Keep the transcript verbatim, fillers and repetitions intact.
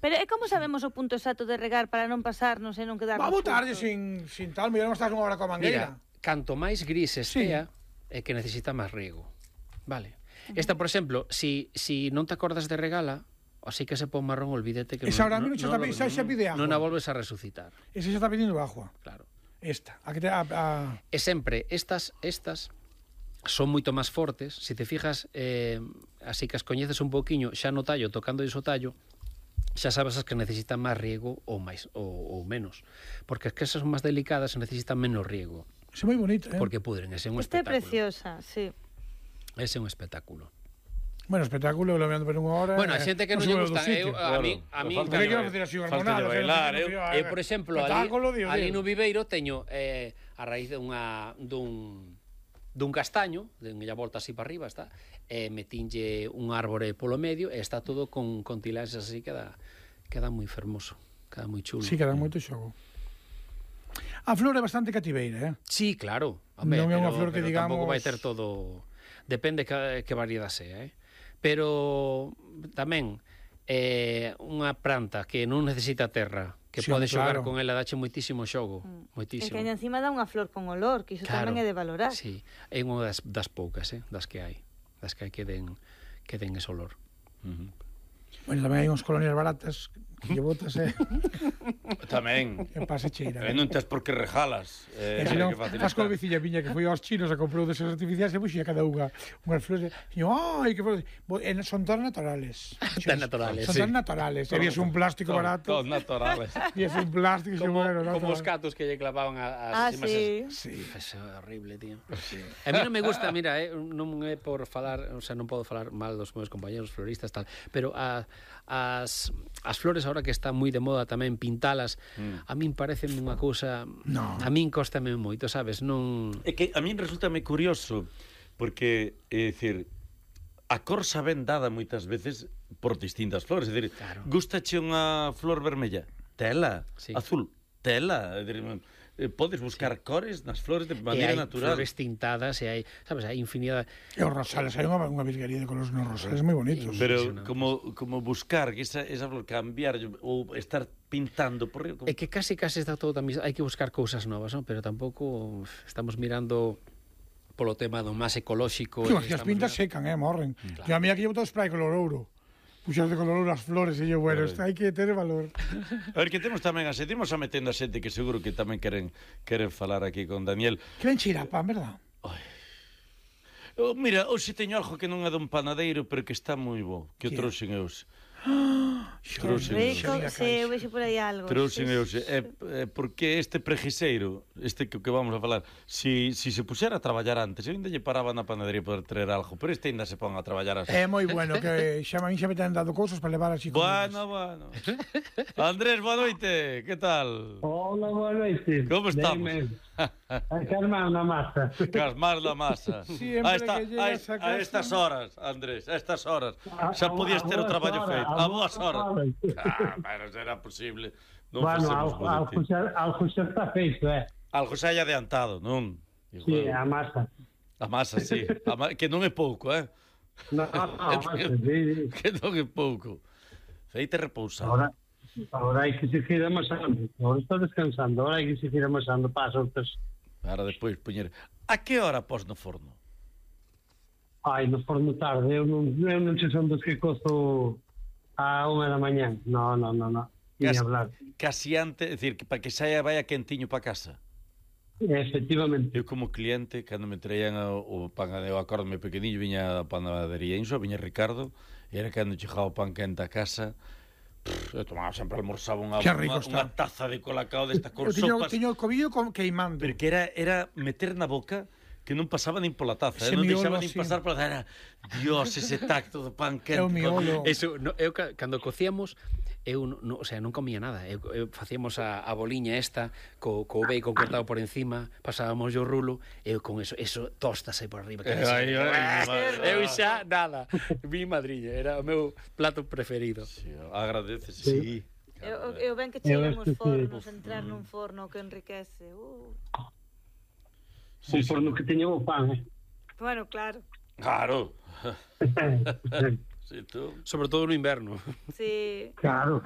Pero é como sabemos o punto exacto de regar para non pasarnos e non quedar... Va a botarlle sin, sin tal, mellor non estás unha hora coa mangueira. Mira, canto máis gris estea, sí, é que necesita máis riego. Vale. Uh-huh. Esta, por exemplo, si, si non te acordas de regala, así que se pon marrón, olvídate que... Esa non, ahora non, non, non, xa pide agua. Non a volves a resucitar. Esa xa está pedindo agua. Claro. Esta. A que te, a, a... E sempre, estas, estas son moito máis fortes. Se te fijas, eh, así que as coñeces un poquinho, xa no tallo, tocando iso tallo, xa sabes as que necesitan máis riego ou máis ou, ou menos, porque as que esas son máis delicadas necesitan menos riego. É moi bonita, eh? Porque pudren, ese é un Esta é espectáculo. preciosa, sí. Ese é un espectáculo. Bueno, espectáculo, lo vendo por unha hora. Bueno, a xente que non lle gusta, eu, a mí, a mí, falta de bailar, eu, eu, por exemplo, ali, Dios, ali Dios. no Viveiro teño eh, a raíz de unha dun dun castaño, den a volta así para arriba, está, e metinlle un árbore polo medio e está todo con, con tilaxes así, queda, queda moi fermoso, queda moi chulo. Sí, queda moito xogo. A flor é bastante cativeira, eh? Sí, claro. Hombre, non é unha pero, flor que pero digamos... tampouco vai ter todo... Depende que, que variedade sea, eh? Pero tamén eh, unha planta que non necesita terra, que sí, pode xogar claro. con ela, dache moitísimo xogo, Mm. moitísimo. E que encima dá unha flor con olor, que iso Claro, tamén é de valorar. Sí, é unha das, das poucas, eh, das que hai, das que hai que den, que den ese olor. Uh-huh. Bueno, tamén hai uns colonias baratas que lle botas, eh? Tamén. Que pase cheira. E non tes por que rejalas. E Eh, se non, que facilita. faz coa veciña viña que foi aos chinos a comprou deses artificiais e puxía cada unha unhas flores. E yo, ai, que flores. Bo, e son todas naturales. Tan naturales, Son sí. todas naturales. E vías un plástico Todos- barato. Todos naturales. Vías un plástico. Como, bueno, como os natural. catos que lle clavaban a, Ah, as sí. Sí. Eso é horrible, tío. Sí. A mí non me gusta, mira, eh, non é por falar, o sea, non podo falar mal dos meus compañeros floristas tal, pero a, as as flores agora que está moi de moda tamén pintalas, mm. a min parecen unha cousa, No. a min cóstame moito, sabes? Non É que a min resultame curioso porque, é dicir, a cor xa ben dada moitas veces por distintas flores, é dicir, Claro. gustache unha flor vermella, tela, Sí. azul, tela, é dicir, eh, podes buscar cores nas flores de e maneira hai natural. flores tintadas e hai, sabes, hai infinidade. E os rosales, hai unha, unha virguería de colores nos rosales moi bonitos. Pero Impresionante. como como buscar que esa esa flor cambiar ou estar pintando por riba, É que casi casi está todo tamén, hai que buscar cousas novas, non? Pero tampouco estamos mirando polo tema do máis ecolóxico. Que, e as estamos pintas mirando- secan, eh, morren. Claro. Que a mí aquí llevo todo spray color ouro. Puxas de color ouro as flores e yo, bueno, Claro. hai que ter valor. A ver, que temos tamén a seguimos a metendo a xente que seguro que tamén queren queren falar aquí con Daniel. Que ven chirapa, verdad? Oh, mira, hoxe teño algo que non é dun panadeiro, pero que está moi bo, que o Que? trouxen eu. Que Trouxen eu. rico, Xa vi a sí, eu caixa. vexo por aí algo. Trouxen sí, eu. sí. É, é porque este pregiseiro, este que, que vamos a falar, si, si se puxera a traballar antes, eu ainda lle paraba na panadería poder traer algo, pero este ainda se pon a traballar así. É moi bueno, que xa a mí xa me ten dado cousas para levar así. Bueno, bueno. Andrés, boa noite, que tal? Hola, boa noite. Como estamos? Deme. A calmar na masa. Casmar la masa. Siempre a, esta, que a, llegas a a casa. estas horas, Andrés, a estas horas. A- Xa a- podías a ter o boas traballo horas, feito. a A boas boas horas. horas. Ah, pero será posible. Non Bueno, facemos algo, bo de algo, ti. xa, algo xa está feito, eh? Algo xa hai adiantado, non? Sí, a masa. A masa, sí. A ma... Que non é pouco, eh? No, no, a masa, sí, sí. Que non é pouco. Feite repousar. Ahora, ahora hai que seguir amasando. Ahora está descansando, ahora hai que seguir amasando para as outras. Para depois poñer... A que hora pos no forno? Ai, no forno tarde, eu non, eu non sei son dos que costo a unha da mañán. No, no, no, no. Ni Casi, hablar. casi antes, é dicir, que para que saia vaya quentiño para casa. Efectivamente. Eu como cliente, cando me traían o, o pan, eu acórdome pequeniño, viña a panadería Inso, viña Ricardo, e era cando chegaba o pan quente a casa, pff, eu tomaba sempre, almorzaba unha, Que rico unha, está. unha taza de colacao desta Eu con tiño, sopas, tiño o cobillo con queimando. porque era, era meter na boca que non pasaba nin pola taza, Ese eh? non miolo deixaba nin así. pasar pola taza, era, Dios, ese tacto do pan quente. É o miolo. Eso, no, eu ca- cando cocíamos, eu no, no, o sea, non comía nada. Eu, eu facíamos a, a boliña esta co, co bacon cortado por encima, pasábamos o rulo, eu con eso, eso tostas aí por arriba. Eh, ai, ai, madre. Eu xa nada. Mi madriña, era o meu plato preferido. Sí, agradece, sí. Sí. sí. Eu, eu ben que Eu cheiran acho os que sí. fornos, entrar nun forno que enriquece. Uh. Sí, por no que teño o pan, eh? Bueno, claro. Claro. Sí, tú. Sobre todo no inverno. Sí. Claro.